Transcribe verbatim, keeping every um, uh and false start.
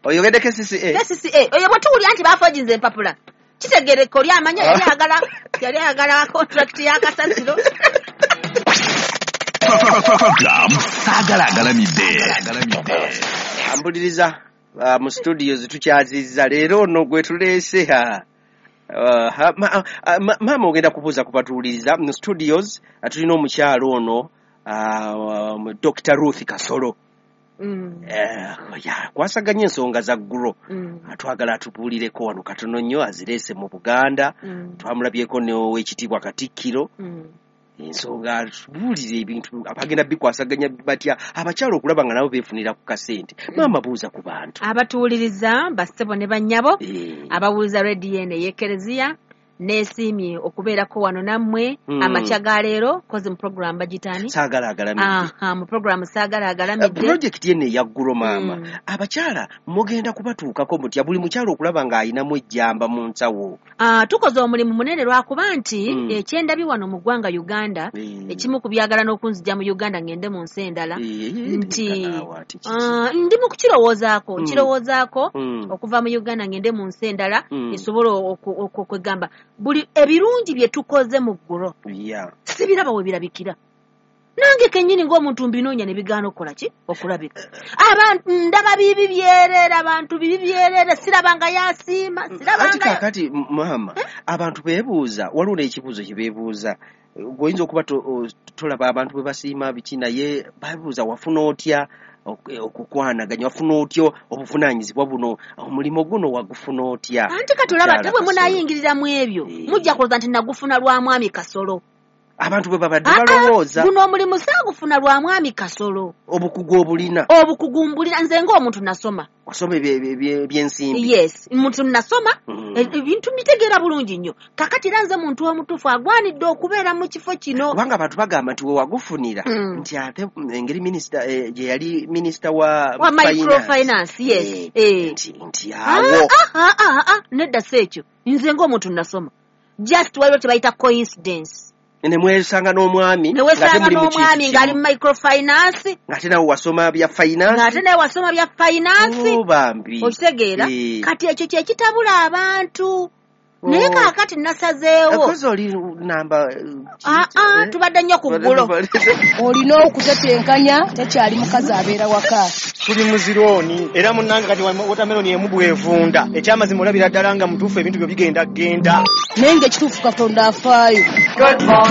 Oyogedde K C C A. K C C A oyo bwe tuwulira nti bafoojinze empapula, kitegereka oli amanya yali ayagala yali ayagala contract ya kasasiro. Program Saagala Agalamidde. Ambuliriza uh, mu studios tukyazizza leero ono gwe tuleese. Ha Uh, ha, ma, uh, ma, maama ogenda kubuuza ku batuwuliriza mu studios. uh, tulina omukyalo ono, uh, um, Doctor Ruth Kasolo. Mm, uh, ya, kwasaganya ensonga za GROW. mm, Twagala atubuulireko wano katono nnyo, azireese mu Buganda. mm, Twamulabyeko n'owekitiibwa Katikkiro. mm. Ensonga atubuulire ebintu abagenda bikwasaganya batya abakyala okulaba nga nabo beefunira ku kasente. Maama, buuza ku bantu. Abatuwuliriza, bassebo ne bannyabo Eh, abawuliza rediyo eno ey'Ekereziya, neesiimye okubeerako wano nammwe Mm. amakya ga leero kozi mu program bagitani Saagala Agalamidde. Aha, mu program Saagala Agalamidde. Pulojekiti eno eya GROW, maama, Mm. abakyala mugenda kubatuukako mutya, buli mukyala okulaba ng'ayinamu ejjamba mu nsawo? Ah, tukoze omulimu munene lwakuba nti Mm. ekyendabye wano mu ggwanga Uganda, Eh, ekimu ku byagala n'okunzija mu Uganda ngende mu nsi endala, eh, nti naawe ate kiki? ah, ndi mu kukirowoozaako, Mm. nkirowoozaako Mm. okuva mu Uganda ngende mu nsi endala Mm. esobole oku- oku- okwegamba buli ebirungi bye tukoze mu GROW Yeah. sibiraba we birabikira. Nange kennyini ng'omuntu mbinoonya ne bigaana okukola ki, okulabika. Abantu ndaba bibi byereere, abantu bibi byereere, siraba nga yasiima, siraba Anti nga kaakati m- maama, abantu beebuuza, waliwo n'ekibuuzo kye beebuuza. Gweoyinza okuba to- o- tolaba abantu bwe basiima biki, naye babuuza, wafuna otya ok- okukwanaganya, wafuna otya obuvunaanyizibwa buno, omulimu guno wagufuna otya? Anti kati olaba Mukyala ate bwe Kasolo. munaayingirira mu ebyo, Eh. mujja kulowooza nti nagufuna lwa mwami Kasolo. Abantu bwe babadde Ah, ah, balowooza. Guno omulimu saagufuna lwa mwami Kasolo. Obukugu obulina. Obukugu mbulina nze ng'omuntu nasoma. Wasoma ebye- ebye- ebye- ebyensimbi. Yes, muntu nasoma. Mm. E- ebintu mbitegeera bulungi nnyo. Kakati era nze muntu omutuufu agwanidde okubeera mu kifo kino. Kubanga abantu bagamba nti wewagufunira Mm. nti ate engeri minisita eh, gye yali minisita wa Wa microfinance, yes. Eh, Eh. nti nti Ah, awo ah, ah, ah, ah, nedda si ekyo. Nze ng'omuntu nasoma, just waliwo kye bayita coincidence. Ne mwesanga n'omwami Ne ng'ate wesanga muli mu kintu n'omwami ng'ali kimu. mu microfinance. Ng'ate nawe wasoma bya finance. Ng'ate naye wasoma bya finance. Oh, bambi. Okitegeera? Eh. Kati ekyo kye kitabula abantu, naye Oh. kaakati nasazeewo. Kozi oli namba eh, Ah, ah, eh? tubadde nnyo ku ggulo. Olina okutetenkanya, tekyali mukazi abeera waka. Tuli mu zirooni era munnange kati wotameloni emu bwevunda. Ekyamazima olabira ddala nga mutuufu ebintu byo bigenda genda. Naye nga ekituufu Katonda afaayo.